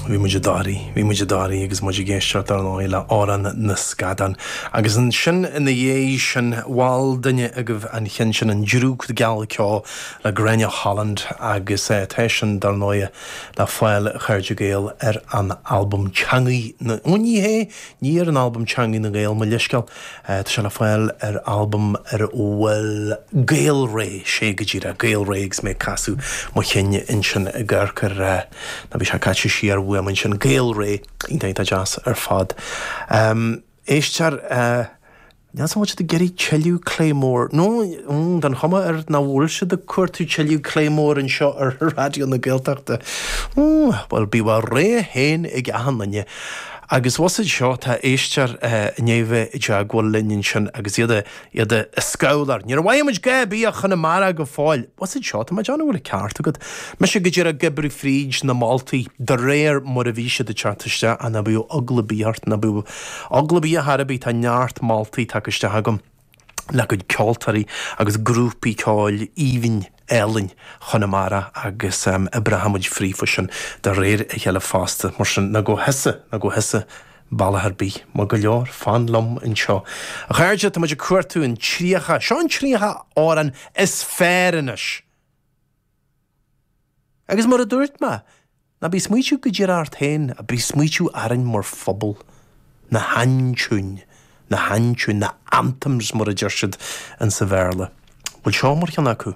Bhí muid i dToraí, bhí muid i dToraí agus muid ag éisteacht ar ndóigh le Amhrán na Scadán. Agus ansin ina dhiaidh sin, mhol duine agaibh an cheann sin, An Drúcht Geal Ceo le Gráinne Holland agus tá sin dar ndóigh le fáil a chairde Gael ar an albam Teangaidh na, ó ní hé, ní ar an albam Teangaidh na nGael, mo leithscéal. Tá sé le fáil ar albam ar a bhfuil Gaelré, sé go díreach, Gaelré agus mé ag casadh mo chinn ansin ag amharc ar, nó bhí sé caite siar uaim ansin, Gaelré, iontach iontach deas ar fad. Éistear, níl 's agam an bhfuil siad ag iarraidh tuilleadh Claymore, nó tá an chuma air nach bhfuil siad ag cuartú tuilleadh Claymore anseo ar Raidió na Gaeltachta. Bhuel, bíodh a rogha féin ag achan duine. Agus bhfuil 's agat seo, tá éisteoir i ndiaidh bheith i dteagmháil linn ansin agus iad iad ag scabhláir. Ní mhaíonn muid go bíodh Chonamara go fóill. Bhfuil 's agat seo, tá mé ag déanamh go bhfuil an ceart agat. Mise go díreach ag oibriú fríd na moltaí de réir mar a bhí siad ag teacht isteach, ach ná bíodh eagla ar bith ort, ná bíodh eagla ar bith ar chor ar bith, tá neart moltaí tagtha isteach agam. le cuid ceoltóirí agus grúpaí ceoil aoibhinn álainn Chonamara agus oibreoidh muid fríofa sin de réir a chéile fosta. Mar sin, ná gabh thusa, ná gabh thusa bealach ar bith. Maith go leor, fan liom anseo. A chairde, tá muid ag cuartú an 30, seo an 30 amhrán is fearr anois! Agus mar a dúirt mé, ná bí ag smaoitiú go díreach ort féin, ach bí ag smaoitiú orainn mar phobal. Na haintiúin, na haintiúin, na anthems mar a deir siad insa Bhéarla. Bhfuil seo mar cheann acu?